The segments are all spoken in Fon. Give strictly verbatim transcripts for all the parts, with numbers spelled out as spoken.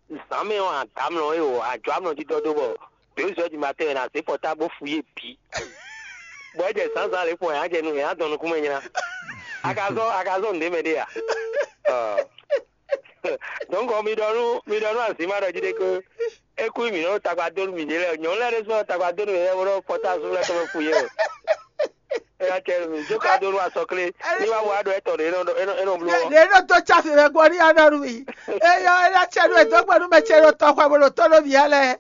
Zǎnmɛ ɔ́, a dǎ mlɔ é o, a jǒ amlɔ dídɔ́ dó bɔ deux heures du matin wɛ è nǎ zé pɔtábl bó fu yě bǐ. Bɔ é jɛ zǎnzǎn lě kpɔn, è nǎ jɛ nu, è nǎ dɔn nukúnmɛ nyla. A ka zɔ́ a ka zɔ́ nǔɖé mɛ ɖé a? Ɔ. Donc mi ɖɔ nú mi ɖɔ nú azǐma ɖɔ jí ɖé ko é kú mǐ nɔ tagba dó nú mǐɖée lɛ́ɛ. Nyɔ̌nu lɛ́ɛ ɖésú nɔ tagba dó nú mǐɖée lɛ́ɛ bó nɔ pɔtábl lɛ́ɛ tɔn mɛ fu yě o. É ná cɛ nú mì, jó ka dó nú asɔklé. Ní wá wá ɖɔ étɔn ɖě é nɔ é nɔ é nɔ bló ɔ́. Ɖě nɔ dó tsáfi mɛ gbɔ ní anɔ nú mì. Eyɔ é ná cɛ nú è dó gbe nú mɛ ce ɖo tɔxɔ bó ɖo tɔ́ nú mǐ ǎ lɛ́ɛ.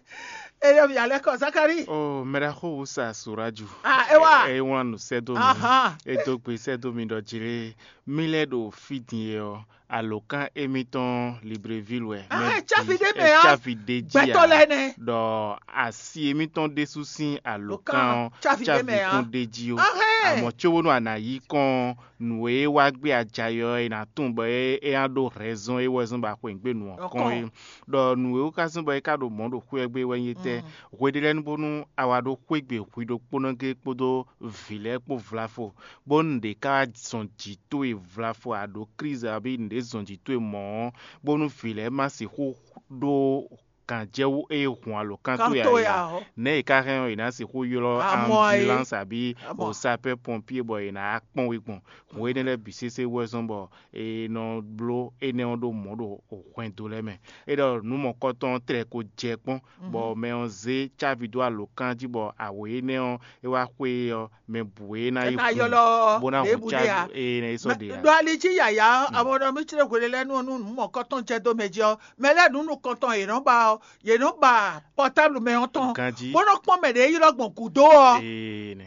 É nɔ mǐ ǎ lɛ́ɛ kɔ Zakalíi. O mɛɖaxó Wusa Suraju. Ah, é wá. É wlán nǔ sɛ́ dó mi. Ahán. É dó gbe sɛ́ dó mi ɖɔ jlé mí lɛ́ ɖo fí din e ɔ́, alǒkan émítɔn Libreville wɛ. Ah, mɛ é cáfi bǐ- ɖé mɛ é ɔ́, cáfi ɖé jí gbɛtɔ́ ǎ. Lɛ́ɛ nɛ́. Ɖɔ asi émítɔn ɖésú sín alǒkan ɔ́ cáfi ɖé mɛ ǎ. Kún ɖé jí ó. Ahɛn. Amɔ̌ cóbónú a nǎ yí kɔn ɔ́, nǔ e wá gbé ajayɔ ɔ́, è nǎ tunwun bɔ é é ná ɖó hɛ̌nzɔ́n é wɛ zɔ́n bɔ a xweyǐgbe nǔ ɔ́ kɔn é. Ɖɔ nǔ e wú ka zɔ́n bɔ é ka ɖo mɔ̌ ɖo xwé ɔ́ gbe wɛ nyí étɛ́? Hwe ɖé lɛ́ɛ nu bónú a wá ɖó xwé gbe hwi ɖokpónɔ géé kpódó vǐ lɛ́ɛ kpó vlafo, bónú nǔɖé ka wá zɔn jǐ towe vlafo a ɖǒ klízi abǐ nǔɖé zɔn jǐ towe mɔ̌ ɔ́, bónú vǐ lɛ́ɛ ma sixú ɖó gǎnjɛwú e hun alǒkan towe ǎ é ǎ. Nɛ̌ è ka hɛn ɔ́, è nǎ sixú ylɔ́ ambulance abǐ o sapeur pompier bɔ è nǎ kpɔ́n we gbɔn? Hǔn énɛ́ lɛ́ɛ bǐ sésé wɛ zɔ́n bɔ è nɔ bló énɛ́ ɔ́ ɖó mɔ̌ ɖo hwɛndo lɛ́ɛ mɛ. É ɖɔ nǔ mɔ̌kɔtɔn ɔ́ tlɛ ko jɛ kpɔ́n, bɔ mɛ ɔ́ zé cávi dó alǒkan jí bɔ awě énɛ́ ɔ́ é wá xwé ɔ́, mɛ bǔ e ná yi ylɔ́ bó ná hu cávi e ná yi sɔ́ ɖe ǎ. Ɖo ali jí yǎyá ɔ́, amɔ ɖɔ mí clé hwelélɛ́nu ɔ́ nú nǔ mɔ̌kɔtɔn jɛ dó mɛ jí ɔ́, mɛ lɛ́ɛ nǔ nukɔntɔn yě nɔ ba ɔ́, yě nɔ ba pɔtáblu mɛ ɔ́ tɔn, bó nɔ kpɔ́n mɛ ɖě ylɔ́ gbɔn gǔdo ɔ́,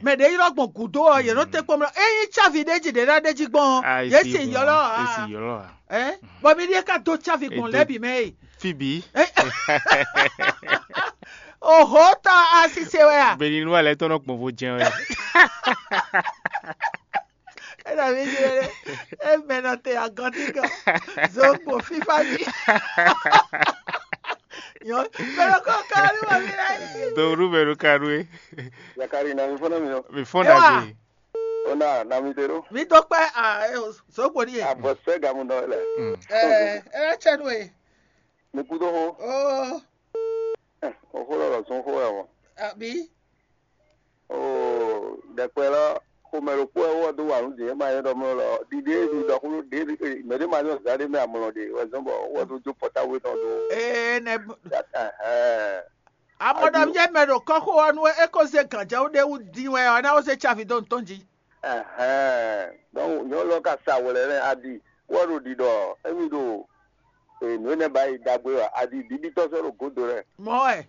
mɛ ɖě ylɔ́ gbɔn gǔdo ɔ́, yě nɔ tɛ́ kpɔ́n mɛ. Ényí cávi ɖé jí ɖě ná ɖé jí gbɔn ɔ́, yě sì ylɔ́ ǎ. Bɔ mi ɖíe ka dó cávi gbɔn lɛ́ɛ bǐ mɛ e. Fí bǐ. Oho tɔ asise wɛ a? Bɛ̌ ni nú alɛ tɔn nɔ gbɔn vo jɛn wɛ. É nɔ mí jí lé. É mɛ nɔ te agɔntí kan. Zogbo fífá mi. Nyɔ mɛ nɔ kɔ ká ní wà mí lɛ. Dòwúrú mɛ nɔ ka nú é. Zakari na mi fɔnɔ mi o. Mi fɔn dagbe. Ona na mi te ɖo. Mi dó kpɛ a zogbo ni ye. Abɔ sɛ gamu nɔ lɛ. Ɛ ɛ lɛ tsɛ nú ye. Mi kú dó xó. Oo. Ɛ o xó lɔ lɔ sún xó wɛ mɔ. Àbí. Oo ɖɛkpɛ lɔ xomɛ ɖokpó wɛ wɔ dó wà nú dǐ é ma nyɛ ɖɔ mlɔ lɔ ɖiɖe ɖi ɖɔ xó ɖe mɛ ɖé ma nyɔ zǎ ɖé mɛ amlɔ ɖe wɛ zɔn bɔ wɔ dó jó pɔtáwé tɔn dó. Ee nɛ. Ɛhɛn. Amɔɖɔmyɛ mɛ ɖo kɔ́xo ɔ́ nu é ko zé gǎnjɛwú ɖé wú dín wɛ ɔ́, é ná ko zé cávi dó nǔ tɔn jí. Ɛhɛn. Donc nyɔ̌nu lɔ ka sa wlɛ nɛ́ adi wɔ ɖo ɖiɖɔ émí ɖo nǔ énɛ́ ba yi ɖagbe wɛ adi bíbítɔ́ sɔ́ ɖo gǒdo lɛ́ɛ. Mɔ̌ wɛ.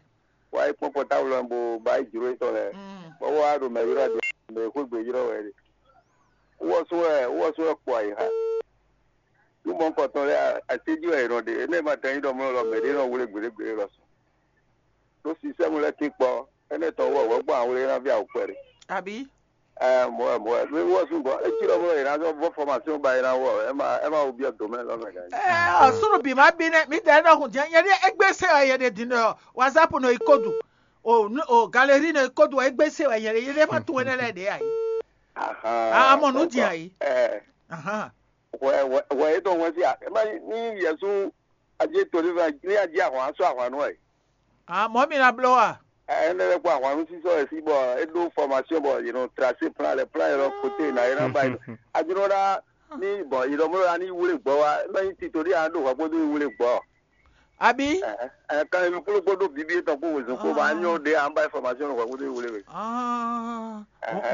Wá yi kpɔ́n pɔtáwlɔ bo ba yi jlǒ yětɔn lɛ́ɛ. Bɔ wá ɖo mɛ ylɔ́ adi mɛ e xwé gbe ylɔ́ wɛ é. Wɔ sú wɛ wɔ sú wɛ kpɔ ayixa. Nú mɔ̌hunkɔtɔn lɛ́ɛ acéjí wɛ è nɔ ɖe, énɛ́ ma tɛn nyí ɖɔ mlɔ́ lɔ mɛ ɖé nɔ wlé gběɖégběɖé lɔ sɔ́. Ɖó sinsɛ́mu lɛ́ɛ tín kpɔ́, énɛ́ tɔn wú wɛ gbɔn awlé ná ví awǔ kpɛɖé. Àbí? Ɛɛ mɔ̌ wɛ mɔ̌ wɛ, mí wɔ sú gbɔn, é cí ɖɔ mlɔ́ è nǎ zɔ́ vɔ́ fɔmasyɔn ba è nǎ wɔ, é ma é ma wú byɔ́ dǒ mɛ lɔ mɛ gǎn. Ɛ ɔ súnnu bǐ má bí nɛ́, mǐ dɛɛ ɖɔ hùn jɛ́n nyɛ ɖíe égbé se wɛ yɛ ɖe din ɖɔ whatsapp nɔ yi kódu. O o galeri nɔ yi kódu wɛ égbé se wɛ yɛ ɖe yɛ ɖe má tunwun énɛ́ lɛ́ɛ ɖě ǎ. Ahan. A mɔ nǔ din ǎ. Ɛ. Ahan. Hwɛ hwɛ hwɛ yětɔn hwɛ sí a? Ema ní Yɛsu adí to ní ní adí ahwan sɔ́ ahwan nú ɛ. A mɔ̌ mi ná bló a? Ɛnɛ lɛ kpɔ ahwan nú sísɔ ɛ sí bɔ é ɖó fɔmasyɔn bɔ yě nɔ trasé plan lɛ plan yɛ lɔ kote ná yɛ ná ba yě. Adínɔ ná ní bɔ yě nɔ mló ná ní wlé gbɔ wá é má nyí tito ní a ɖó hwɛ kpódó ní wlé gbɔ. Abi. Kan mi kpló kpódó bíbí etɔn kpó wezun kpó ma nyɔ ɖe an ba information lɔ kpódó wele we.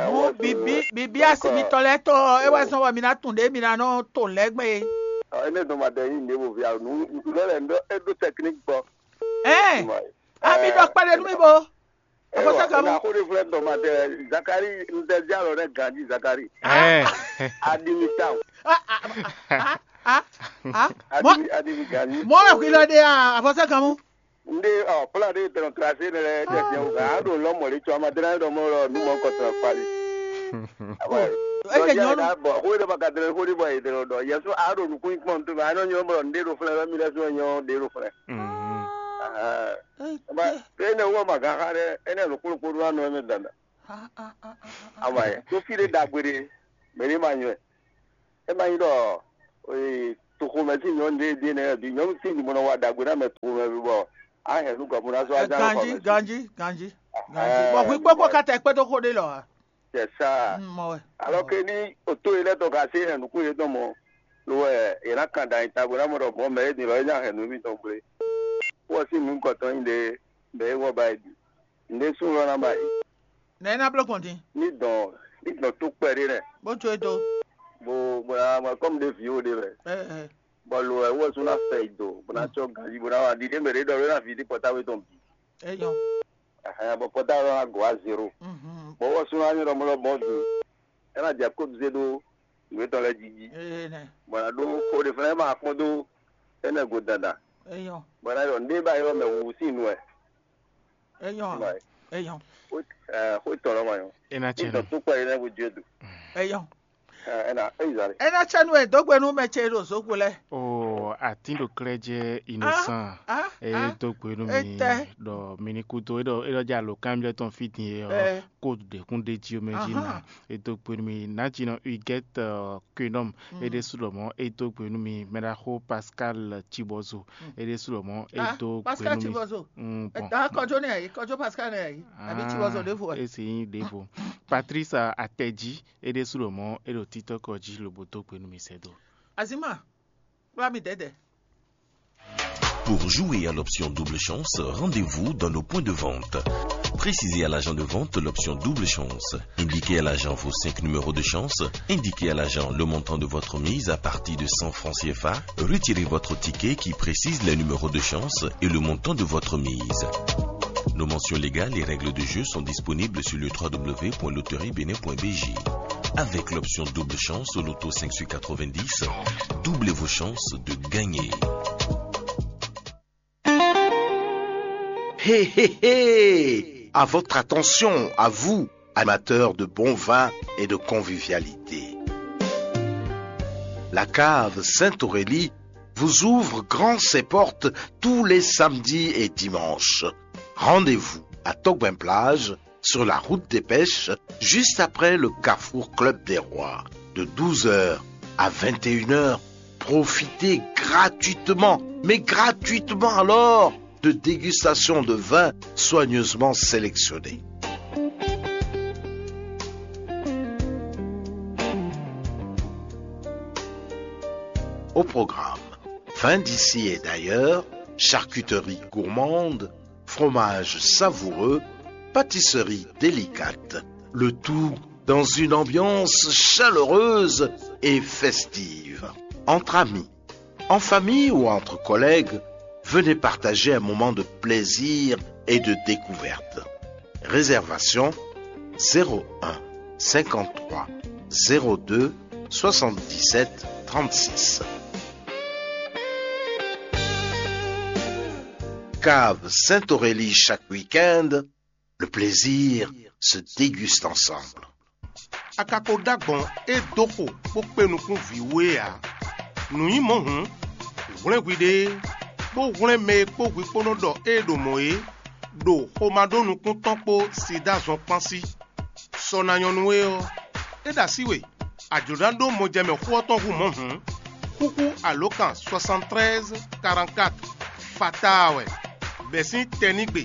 Mo bibi bibi asi mitɔ lɛ tɔ e wɛ sɔn wɔ mi na tun ɖe mi na nɔ to lɛ gbe. Ene dɔn ma dɛ yi ne bo via nu lɔ lɛ ndo e do technique gbɔ. Ɛ ami dɔ kpɛɖe nu mi bo. Afɔsaka mu. Na xó ɖe flɛ dɔn ma dɛ Zakari n tɛ di alɔ ne ganji Zakari. Ɛ. Adimi town. Adimi adimi ganji. Mɔ wɛ hwi lɔ ɖe a afɔsaka mu. Nde ɔ plan de tɔnɔ tracé ne lɛ tɛ fiɛ o kan a ɖo lɔ mɔli tsɔ ama dena ɖɔ mɔ lɔ nu mɔ kɔtɔn kpali. Eke nyɔnu. Bɔn xo ɖe ma ka dena xo ɖe bɔ yedena ɖɔ yɛsu a ɖo nukun kpɔn to ma a nɔ nyɔ bɔ nde ɖo flɛ mi lɛ so nyɔ de ɖo flɛ. Ene wɔ ma gan xa ɖe ene nukun kpo ɖo anɔ eme danda. Ama yɛ to fi ɖe dagbe ɖe mɛ ɖe ma nyɔ. E ma nyi ɖɔ ee Toxomɛ sín nyɔ̌nu ɖé ɖé nɛ́ bǐ nyɔ̌nu tín ɖi mɔ nɔ wa ɖagbe ná mɛ toxomɛ bǐ bɔ a hɛn nú gɔ̌ bó ná zɔ́ wá ján nú Ganjí, xɔmɛ. Ganjí, Ganjí. Bɔ hwi kpɔ́kpɔ ka tɛ kpɛ́ dó xó ɖé lɔ ǎ. Tɛ sá. Mm, mɔ wɛ. Alɔ ke ní o tó e lɛ́ tɔn ka sé hɛn nukún yětɔn mɔ lo wɛ è nǎ kan ɖo anyita bó ná mɔ ɖɔ mɔ̌ mɛ é din lɔ é ná hɛn nǔ mitɔn gblé. Wɔ sín nǔ gɔtɔn nyi ɖe mɛ é wɔ ba yi bǐ. Nǔɖé sú lɔ ná ba yi. Nɛ̌ ná bló gbɔn din? Ní dɔn ní dɔn tó kpɛɖé nɛ. Bó jó e dó. Bó bó ná mɔ kɔ́mu ɖé vǐ ó ɖé mɛ. Ɛ ɛ. Bɔ lo wɛ wɔ sú ná fɛ yi do bó ná tsɔ ganjí bó ná wá ɖiɖé mɛ ɖé ɖɔ ló ná ví dí pɔtáwé tɔn bǐ. É nyɔ́. Ɛhɛn, bɔ pɔtáwé ɔ́ ná gɔ̌ wá zéro. Mhm. Bɔ wɔ sú ná nyɔ́ ɖɔ mɔ ɖɔ mɔ vǐ. É ná jɛ kóduzé ɖó nǔ étɔn lɛ́ɛ jí jí. Ee nɛ. Bɔ ná ɖó xó ɖé fúnɛ́ ma kpɔ́n dó énɛ́ go dandan. É nyɔ́. Bɔ ná ɖɔ ndé ba ylɔ́ mɛ wǔ sín nu wɛ. É nyɔ́. Bye. É nyɔ́. Xó tɔn lɔ ma nyɔ. É ná Ní tsɛ dɔn nú. Tó kpɛ énɛ́ go jɛ do. É nyɔ́. Ɛ ɛ na é yi zà lɛ. É ná tsɛ nú e dó gbe nú mɛ ce ɖo zokpo lɛ́ɛ. O atín ɖo klɛ́ jɛ innocent. Ah, e ah, dó gbe nú mi etɛ. Ɖɔ mi ní kúdó é ɖɔ é ɖɔ jɛ alo kanbyɔ́ tɔn fí din e ɔ Ɛ. Kódu ɖě kún ɖ'é jí ó mɛ jí Ahan. Na e dó gbe nú mi nǎjínɔ Huguette Quenɔm. É ɖésú lɔ mɔ̌ é dó gbe nú mi mɛɖaxó Pascal Cibɔzo. É ɖésú lɔ mɔ̌ é Ah, dó gbe Pascal nú mi. Cibɔzo. Mm, bon. Ɛtàn kɔjó nɛ yí kɔjó Pascal nɛ yí àbí Cibɔzo ɖěvo ɛ. Esi nyí ɖěvo. Patrice Atɛji é ɖésú lɔ mɔ̌ é ɖo títɔ́kɔ jí lobo dó gbe nú mi sɛ́ dó. Azima, kplá mi dɛ̌dɛ̌. Pour jouer à l'option double chance, rendez-vous dans nos points de vente. Précisez à l'agent de vente l'option double chance. Indiquez à l'agent vos cinq numéros de chance. Indiquez à l'agent le montant de votre mise à partir de cent francs C F A. Retirez votre ticket qui précise les numéros de chance et le montant de votre mise. Nos mentions légales et règles de jeu sont disponibles sur le trois W point loterie bénin point B J. Avec l'option double chance au loto cinq sur quatre-vingt-dix, doublez vos chances de gagner. Hé, hé, hé ! À votre attention, à vous, amateurs de bon vin et de convivialité. La cave Sainte-Aurélie vous ouvre grand ses portes tous les samedis et dimanches. Rendez-vous à Togben Plage, sur la route des pêches, juste après le carrefour Club des Rois, de douze heures à vingt et une heures. Profitez gratuitement, mais gratuitement alors, de dégustations de vins soigneusement sélectionnés. Au programme, vins d'ici et d'ailleurs, charcuterie gourmande, fromage savoureux, pâtisserie délicate, le tout dans une ambiance chaleureuse et festive. Entre amis, en famille ou entre collègues, venez partager un moment de plaisir et de découverte. Réservation zéro un cinquante-trois zéro deux soixante-dix-sept trente-six. Cave Sainte-Aurélie chaque week-end, le plaisir se déguste ensemble. A ka ko ɖó agbɔ̌n e dó xo bó kpé nukún vǐ we ǎ. Nǔ nyí mɔ̌ hǔn, hwlɛ́n hwiɖée, bó hwlɛ́n mɛ e kpó hwi kpó nɔ ɖɔ ée ɖo mɔ̌ é, ɖo xomá ɖó nukún tɔn kpó sida zɔn kpán sí. Sɔ ná nyɔ́ nú we ɔ́, é ɖo así we, a jlǒ ná ɖó mɔjɛmɛ xó ɔ́ tɔn hú mɔ̌ hǔn, xúxú alǒkan soixante-treize quarante-quatre fataa wɛ, bɛ̌ sín tɛnígbe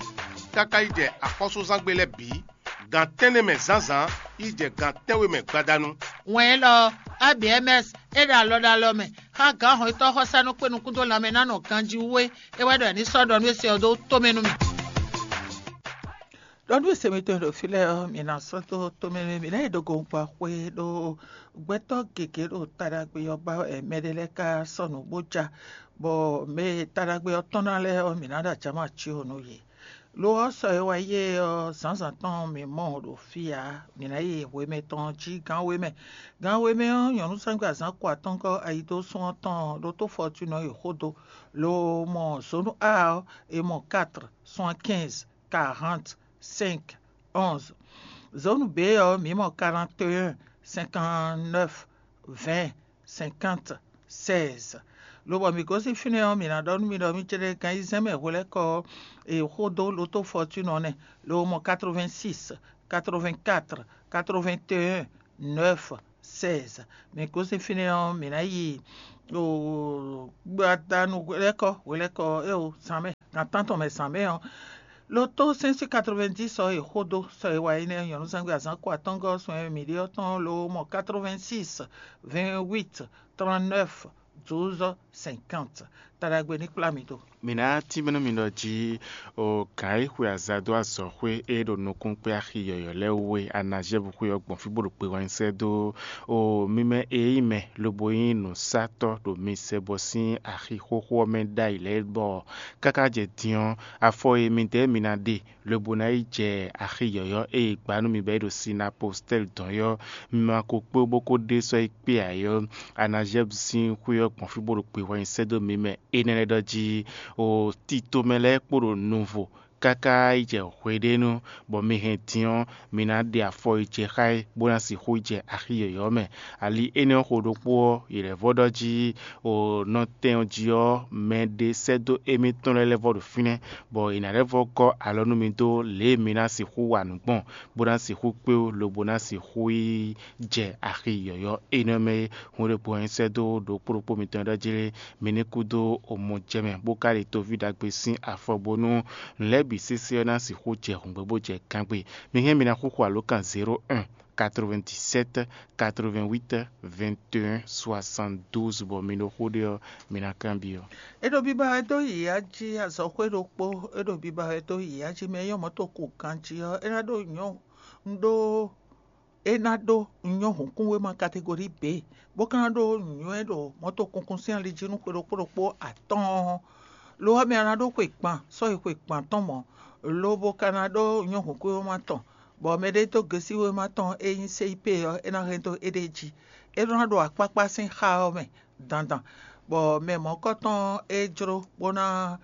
káká yi jɛ axɔ́súzángbe lɛ́ɛ bǐ, gan tɛ́nnɛ mɛ zǎnzǎn yi jɛ gan tɛ́nwe mɛ gbadanu. Wɛn élɔ́ ɔ́, A B M S é ɖo alɔ ɖo alɔ mɛ xá gǎn hɔnnyitɔ́ xɔsánú kpé nukún dó lanmɛ ná nɔ ganjí wú é. É wɛ ɖɔ è ní sɔ́ ɖɔ nú é se ɔ́ dó tomɛ nú mì. Ɖɔ nú se mitɔn e ɖo fí lɛ́ɛ ɔ́, mi ná sɔ́ dó tomɛ nú mì ná yi ɖo gɔngba xwé ɖó gbɛtɔ́ gěgé ɖo taɖagbe ɔ́ ba wɛ mɛ ɖé lɛ́ɛ ka sɔ́ nǔ bó ja, bɔ mɛ e taɖagbe ɔ́ tɔ́n ná lɛ́ɛ ɔ́, mǐ ná ɖo acǎma cí ɔ́ nú yě. Lo ɔ́, sɔ e wá yi é ɔ́, zǎnzǎn tɔn mǐ mɔ ɖo fí ǎ; mǐ ná yi hwemɛ tɔn jí gǎn we mɛ. Gǎn we mɛ ɔ́, nyɔ̌nuzángbe azǎn ko atɔ́ɔ́ngɔ́ ayidósún ɔ́ tɔn ɖótó Fɔtúnɔ e xó dó, lo mɔ zǒnu A ɔ́, è mɔ quatre, soixante-quinze, quarante, cinq, onze. Zǒnu B ɔ́, mǐ mɔ quarante et un, cinquante-neuf, vingt, cinquante, seize. Lobɔ mǐ gosín fínɛ́ ɔ́, mǐ ná ɖɔ nú mi ɖɔ mǐ céɖé gan ayizɛ́n mɛ hwelɛ́kɔ ɔ́, è xó dó lotó Fɔtúnɔ nɛ́, lo mɔ quatre-vingt-six, quatre-vingt-quatre, quatre-vingt-un, neuf, seize. Mǐ gosín fínɛ́ ɔ́, mǐ ná yi ɖo gbadanu hwelɛ́kɔ hwelɛ́kɔ eo zǎnmɛ, gan tántɔn mɛ zǎnmɛ ɔ́, lo tó sɛ́n sí quatre-vingt-dix sɔ e xó dó sɔ e wa énɛ́ nyɔ̌núzangbe azǎn ko atɔ́ngɔ́ sɔn e mǐ ɖe ɔ́ tɔn lo mɔ quatre-vingt-six, vingt-huit, trente-neuf, douze, cinquante. Taɖagbe ní kplá mi dó. Mǐ ná tínmɛ nú mi ɖɔ jí o gǎn e xwe azǎn dó azɔ̌xwé e ɖo nukúnxwé axi yɔ̌yɔ́ lɛ́ɛ wú e Anazɛ́vu xwe ɔ́ gbɔn fí bó ɖo gbe wɛn sɛ́ dó o mi mɛ e nyí mɛ lobo nyí nǔsatɔ́ ɖo mi sɛ bɔ sín axi xóxó ɔ́ mɛ ɖ'ayǐ lɛ́ɛ bɔ káká jɛ din ɔ́, afɔ e midɛɛ mi ná ɖe lobo ná yi jɛ axi yɔ̌yɔ́ e è gbǎ nú mi bɔ é ɖo Sinapostɛ́li dɔn é ɔ́, mi ma ko kpé bó ko ɖe sɔ́ yi kpé ǎ é ɔ́, Anazɛ́vu sín xwé ɔ́ gbɔn fí bó ɖo gbe wɛn sɛ́ dó mi mɛ énɛ́ lɛ́ɛ ɖɔ jí o tito mɛ lɛ́ɛ kpo ɖo nuvo káká yi jɛ hweɖénu, bɔ mi hɛn din ɔ́, mi ná ɖe afɔ yi jɛ xá ɛ, bó ná sixú yi jɛ axi yɔ̌yɔ́ mɛ. Ali énɛ́ ɔ́ xo ɖokpó ɔ́, yě lɛ́ vɔ ɖɔ jí o nɔtɛn ɔ́ jí ɔ́, mɛ ɖé sɛ́ dó émítɔn lɛ́ɛ lɛ́ vɔ ɖo fínɛ́, bɔ è nǎ lɛ́ vɔ gɔ́ alɔ nú mi dó lě e mi ná sixú wa nǔ gbɔn, bó ná sixú kpé ó, lobo ná sixú yi jɛ axi yɔ̌yɔ́ énɛ́ mɛ é. Hun ɖokpó ɔ́ nyi sɛ́ dó ɖokpó ɖokpó mitɔn e ɖɔ jí lé, mi ní kú dó omɔ jɛ mɛ, bó ka ɖe toví ɖagbe sín afɔ, bónú nǔ lɛ́ɛ bǐ sésé ɔ́ ná sixú jɛ hǔngbɛ́ bó jɛ kangbé. Mi hɛn mi ná xúxú alǒkan zéro un, quatre-vingt-dix-sept, quatre-vingt-huit, vingt et un, soixante-douze, bɔ mi ɖo xó ɖe ɔ́, mi ná kanbyɔ́. É ɖo biba wɛ dó yǐyá jí azɔxwé ɖokpó, é ɖo biba wɛ dó yǐyá jí mɛ e nyɔ́ mɔ̌ to ku ganjí ɔ́, é ná ɖó nyɔ́ ɖó é ná ɖó nyɔ́ hǔnkúnwéma kategori B, bó ka ná ɖó nyɔ̌ e ɖo mɔ̌tokunkun sín ali jí nú xwe ɖokpó ɖokpó atɔ́ɔ́n. Lo ɔ́, mɛ ɔ́ ná ɖó xwe gban, sɔ́ yi xwe gban tɔn mɔ̌, lobo ka ná ɖó nyɔ́ hǔnkúnwéma tɔn, bɔ mɛɖé dó gesíwéma tɔn e nyí C I P ɔ́, é ná hɛn dó éɖée jí. É nɔ ná ɖo akpákpá sín xá ɔ́ mɛ dandan, bɔ mɛ mɔ̌kɔtɔn e jló bó ná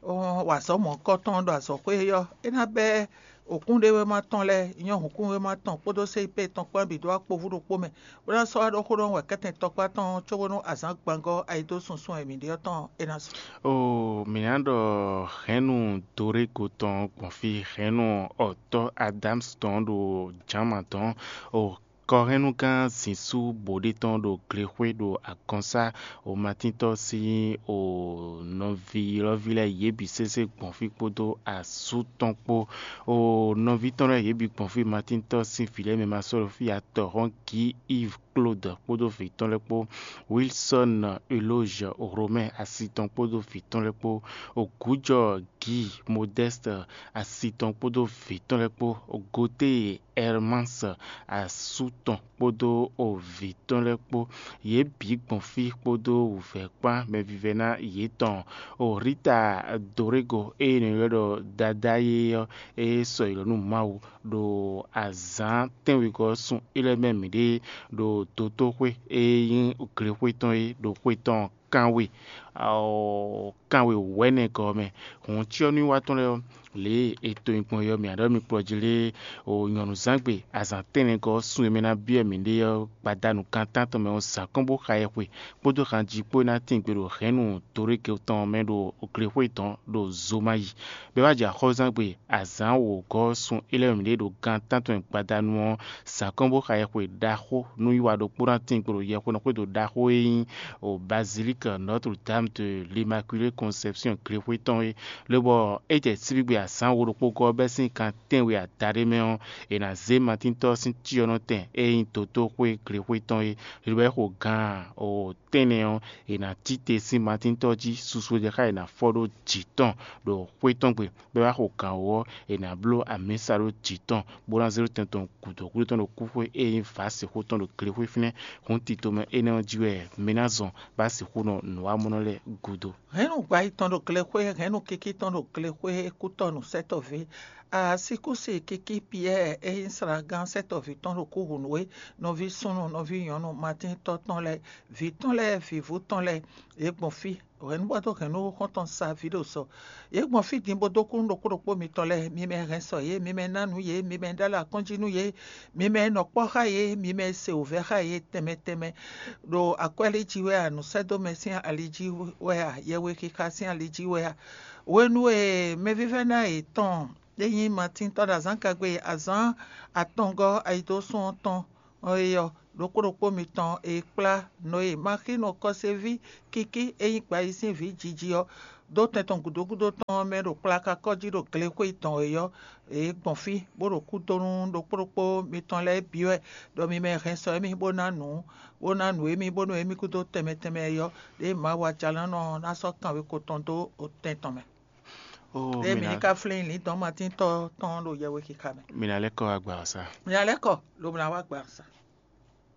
wa azɔ̌ mɔ̌kɔtɔn ɖo azɔ̌xwé ɔ́, é ná bɛ́ òkúnɖéwéma tɔn lɛ́ɛ, nyɔ́ hǔnkúnwéma tɔn kpódó C I P tɔn kpán bǐ dó akpovu ɖokpó mɛ, bó ná sɔ́ wá ɖó xó ɖɔ wɛ kɛ́tɛn tɔkpá tɔn cóbónú azǎn gbangɔ́ ayidósunsún e mǐ ɖe ɔ́ tɔn é ná su. O mǐ ná ɖɔ hɛ̌nnu Dorégo tɔn gbɔn fí, hɛ̌nnu ɔ̌tɔ́ Adámsi tɔn ɖo jǎnma dɔn, o kɔhɛnnugán Zinsú bǒɖé tɔn ɖo glexwé ɖo agɔnsá, o matíntɔ́ sín o nɔví ylɔ́ví lɛ́ɛ yě bǐ sésé gbɔn fí kpódó asú tɔn kpó. O nɔví tɔn lɛ́ɛ yě bǐ gbɔn fí, matíntɔ́ sín vǐ lɛ́ɛ mɛ ma sɔ́ ɖo fí ǎ, tɔ̌hɔn Gǐ Iv Klód kpódó vǐ tɔn lɛ́ɛ kpó, Wilsɔ́n Elózh Romɛ́ɛ asi tɔn kpódó vǐ tɔn lɛ́ɛ kpó, Ogǔjɔ Gǐ Modɛ́st asi tɔn kpódó vǐ tɔn lɛ́ɛ kpó, Gotée Ɛrmás asú tɔn kpódó vǐ tɔn lɛ́ɛ kpó, yě bǐ gbɔn fí kpódó wǔvɛ́ kpán mɛvívɛ́ná yětɔn. O Rita Dorégo e è nɔ ylɔ́ ɖɔ Dadá é ɔ́, é sɔ́ yi lɔ nú Mawu ɖo azǎn tɛ́nwegɔ́ ɔ́ sun é lɛ́ mɛ mǐɖée ɖo dotóxwé e nyí glexwé tɔn é ɖo xwé tɔn kanwe kanwe wɛ̌nɛgɔ́ ɔ́ mɛ. Hǔn cyɔ́núwiwa tɔn lɛ́ɛ ɔ́, lě e è to nyi gbɔn é ɔ́, mǐ ná ɖɔ mi kplɔ́ jí lé o nyɔ̌nuzǎngbe azǎn tɛ́nnɛgɔ́ ɔ́ sun e mɛ ná byɔ́ mǐɖée ɔ́, gbadanu gan tántɔn mɛ ɔ́, zǎn kɔn bó xa yɛhwe kpódó hanjí kpó e ná tín gbe ɖo hɛ̌nnu Dorége tɔn mɛ ɖo glexwé tɔn ɖo Zomayi. Bɔ é wá jɛ axɔ́zangbe azǎn wǒgɔ́ sun é lɛ́ mǐɖée ɖo gan tántɔn gbadanu ɔ́, zǎn kɔn bó xa yɛhwe ɖaxó nú wiwa ɖokpó ná tín gbe ɖo yɛhwenɔxwédo ɖaxó e nyí o Bazilike Notre Dame de l'Immaculée Conception glexwé tɔn é. Lobɔ é jɛ síbígbe azǎn wo ɖokpó gɔ́ bɛ́ sín kan tɛ́nwe adaɖé mɛ ɔ́, è nǎ zé matíntɔ́ sín cyɔ́nɔtɛn e nyí dotóxwé glexwé tɔn é. Lobɔ é xo gan o tɛ́nnɛ ɔ́, è nǎ cí te sín matíntɔ́ jí susu e jɛ xá è nǎ fɔ ɖó jǐ tɔn ɖo xwé tɔn gbe, bɔ é wá xo gǎn wú ɔ́, è nǎ bló amǐsa ɖó jǐ tɔn, bó ná zé ɖó tɛn tɔn gǔdo gúdo tɔn ɖo kúxwé e nyí vǎsixú tɔn ɖo glexwé fínɛ́. Hǔn tito mɛ énɛ́ ɔ́ jí wɛ mi ná zɔn bó ná sixú nɔ nǔwamɔnɔ lɛ́ɛ gúdo. Hɛ̌nnu gbayi tɔn ɖo glexwé, hɛ̌nnu kiki tɔn ɖo glexwé, kútɔ́ nǔsɛtɔ́ví. Asíkúsi kiki Piyɛ́ɛ e nyí slagán sɛ́tɔ́ví tɔn ɖo kúhǔnú é, nɔví súnnu, nɔví nyɔ̌nu, matíntɔ́ tɔn lɛ́ɛ, vǐ tɔn lɛ́ɛ, vǐvú tɔn lɛ́ɛ, yě gbɔn fí. Hɛ̌nnubɔ́dó hɛ̌nnu xɔ́ntɔn sa vǐ ɖo sɔ. Yě gbɔn fí din bó dó kú nú ɖokpó ɖokpó mitɔn lɛ́ɛ. Mi mɛ hɛn sɔ yě, mi mɛ ná nǔ yě, mi mɛ ɖó alɔ akɔ́njí nú yě, mi mɛ nɔ kpɔ́ xá yě, mi mɛ se wǔvɛ́ xá yě tɛnmɛ tɛnmɛ. Ɖo akwɛ́lí jí wɛ a, nǔsɛ́dómɛ sín ali jí wɛ a, yɛhwexixa sín ali jí wɛ a? Hwenu e mɛvívɛ́ná yětɔn e nyí Matín tɔn ɖo azǎn kagbe azǎn atɔngɔ́ ayidósún ɔ́ tɔn ɔ́ é ɔ́, ɖokpó ɖokpó mitɔn e kplá Nɔye Maxinu kɔséví kíkí e nyí gbayízínví jiji ɔ́ dó tɛn tɔn gǔdo gúdo tɔn ɔ́ mɛ ɖo kplakakɔ́ jí ɖo glexwé tɔn e ɔ́, yě gbɔn fí bó ɖo kú dó nú ɖokpó ɖokpó mitɔn lɛ́ɛ bǐ wɛ, ɖɔ mi mɛ hɛn sɔ émí bó ná nǔ, bó ná nǔ émí bónú émí kúdó tɛnmɛ tɛnmɛ e ɔ́, ɖěe Mawu Ajalánɔ ɔ́ ná sɔ́ kanweko tɔn dó otɛn tɔn mɛ. Ó, Ɖěe mi mi ná ní ka flín lǐndɔ̌n matíntɔ́ tɔn ɖo yɛwe xixa mɛ. Mi ná lɛ́ kɔ wá gba ɔ́ sá. Mi ná lɛ́ kɔ, lobo ná wá gba sa.